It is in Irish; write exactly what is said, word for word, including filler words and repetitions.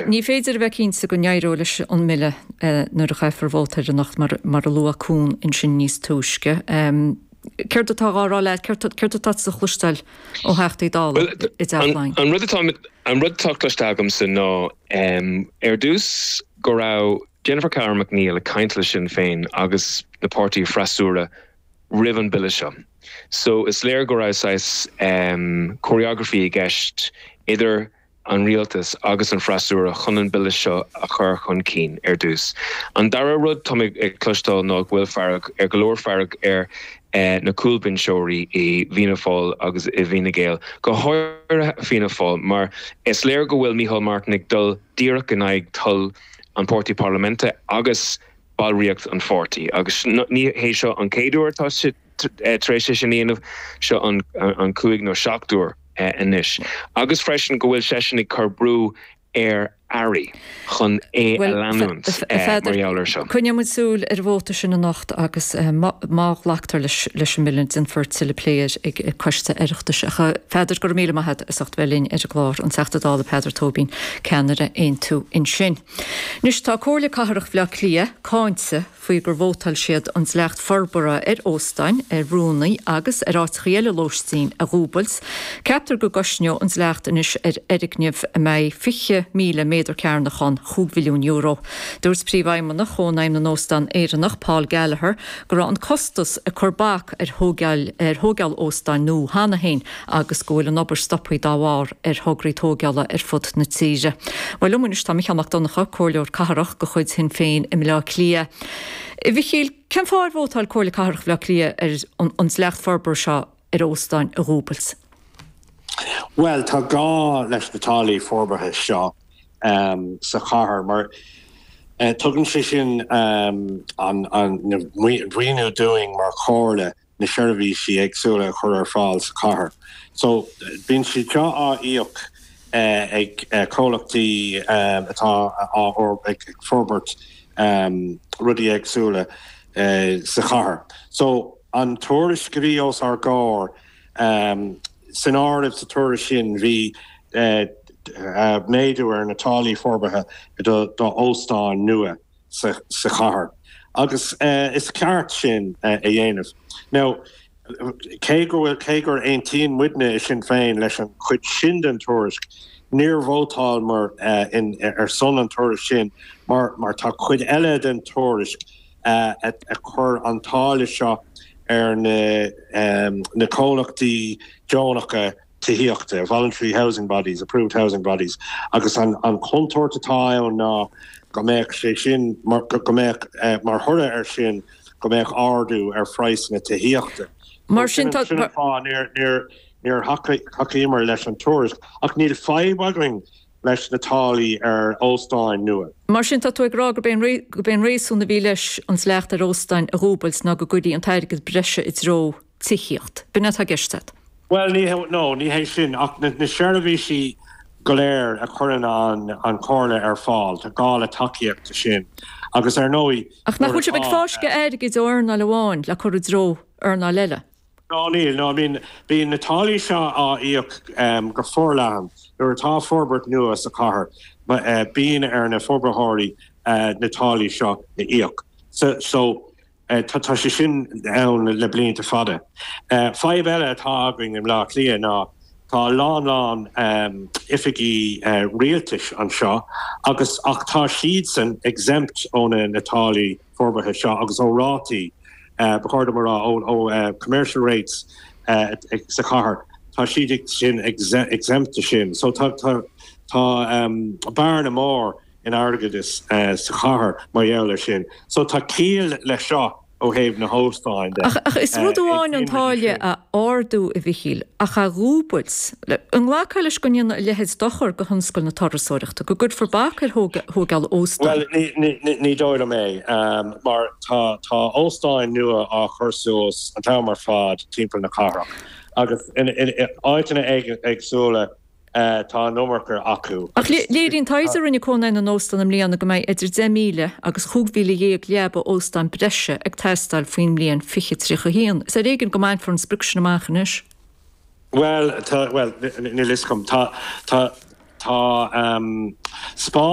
Ní féidir a bheith cinnte go n-éireoidh leis an mbille nuair a chaithfear vóta air anocht mar mar a luaigh Con ansin níos túisce. Céard atá á rá leat, céard atá tú a chloisteáil ó Theachtaí Dála i dTeach Laighean? An rud atá an rud atá cloiste agamsa ná ar dtús go raibh Jennifer Carroll MacNeill ag caint le Sinn Féin agus na páirtí freasúra roimh an bille seo. So is léir go raibh saghas um, choreography i gceist idir an rialtas agus an freasúra chun an bille seo a chur chun cinn ar dtús. An dara rud tá ag cloisteáil ná go bhfuil fearg ar go leor fearg ar eh, na cúlbhinseoirí i bhFianna Fáil agus i bhFine Gael. Go háirithe Fianna Fáil mar is léir go bhfuil Micheál Martin ag dul díreach in aghaidh toil an pháirtí parlaiminte agus ballraíocht an pháirtí agus ní hé seo an chéad uair atá sé eh, tar éis sin a dhéanamh seo an, an cúig nó seacht uair eh, anois. Agus freisin go bhfuil seisean ag cur brú ar airí chun é a leanúint eh, mar gheall air seo. Coinneoidh muid súil ar an vóta sin anocht agus má ghlactar leis leis an mbille déanfar tuilleadh plé air ag coiste Oireachtais ach Peadar go raibh míle maith agat as ucht bheith linn ar an gclár an Teachta Dála Peadar Tóibín ceannaire Aontú ansin. Anois tá Comhairle Cathrach Bhaile Átha Cliath cáinte faoi gur vótáil siad an dleacht forbartha ar óstáin, ar bhrúnna agus ar áiteacha eile lóistín a dhúbailt. Ceaptar go gcosnóidh an dleacht anois ar fhoirgneamh a mbeidh fiche míle méadar cearnach ann chúig mhilliún euro. Dúirt príomhfheidhmeannach Chónaidhm na nÓstán Éireannach Paul Gallagher go raibh an costas ag cur bac ar thógáil ar thógáil óstáin nua cheana féin agus go bhfuil an obair stoptha dá bharr ar thograí tógála ar fud na tíre. Well liom anois tá Micheál Mac Donncha, Comhairleoir Cathrach de chuid Shinn Féin i mBleá Cliath. A Mhichíl, cén fáth ar vótáil Comhairle Cathrach Bhaile Átha Cliath ar an, an dleacht forbartha seo ar óstáin a dhúbailt? Well tá gá leis na táillí forbartha seo um, sa chathair mar uh, tugann sé sin um, an, an maoiniú dúinn mar chomhairle na seirbhísí éagsúla a chur ar fáil sa chathair. So bíonn sé seo á íoc uh, ag uh, comhlachtaí um, atá á ag forbairt um, rudaí éagsúla uh, sa chathair. So an tuairisc a bhí os ár gcomhair um, san áireamh sa tuairisc sin bhí uh, uh, méadú ar na táillí forbartha do, do óstáin nua sa, sa chathair. Agus uh, is ceart sin uh, a dhéanamh. Now, cé go bhfuil cé gur aontaíonn muidne i Sinn Féin leis an chuid sin den tuairisc, níor vótálamar uh, in, ar son an tuairisc sin mar mar tá cuid eile den tuairisc uh, a, a chur an táille seo ar na, um, na comhlachtaí deonacha tithíochta, voluntary housing bodies, approved housing bodies, agus an, an chontúirt atá ann ná go mbeadh sé sin mar, go mbeadh uh, mar thoradh ar sin go mbeadh ardú ar phraghas na tithíochta. Mar sin tá níor níor thacaíomar leis an tuairisc ach níl fadhb againn leis na táillí ar óstáin nua. Mar sin tá tú ag rá gurb é an réasún a bhí leis an dleacht ar óstáin a dhúbailt ná go gcuirfí an t-airgead breise i dtreo tithíocht. B'in atá i gceist agat. Well ní no ní hé sin ach na, na seirbhísí go léir a chuireann an an chomhairle ar fáil tá gá le tacaíocht sin agus ar ndóigh. Ach nach bhfuil sibh ag fáisceadh airgid ó earnáil amháin le cur i dtreo earnáil eile. No níl no I mean bíonn na táillí seo á íoc um, go forleathan nuair atá forbairt nua sa chathair uh, bíonn ar na forbarthóirí uh, na táillí seo a íoc. So, so uh, tá tá sé sin ann le blianta fada. Uh, Fadhb eile atá againn i mBleá Cliath ná tá lán lán um, oifigí uh, rialtais anseo agus ach tá siad san exempt ó na na táillí forbartha seo agus ó rátaí uh, b'fhéidir mar ó, ó uh, commercial rates uh, sa chathair tá siad sin exempt sin so tá tá tá um, bearna mór in airgeadas uh, sa chathair mar gheall air sin so tá ciall le seo ó thaobh na hóstáin Ach, ach is rud amháin an táille a ardú a Mhichíl ach a dhúbailt an nglacfá leis go ndéanfaidh a leithéid dochar do thionscal na turasóireachta go gcuirfear bac ar thógáil óstán. Well ní dóigh liom é um, mar tá tá óstáin nua á chur suas an t-am ar fad timpeall na cathrach agus in áiteanna éagsúla uh, tá an iomarca acu. Ach léiríonn taighde a rinne Cónaidhm na nÓstán i mbliana go mbeidh idir deich míle agus chúig mhíle dhéag leaba óstáin breise ag teastáil faoin mbliain fiche tríocha haon. Is ar éigean go mbainfear an sprioc sin amach anois. Well tá well níl a fhios agam tá tá Tá um, spás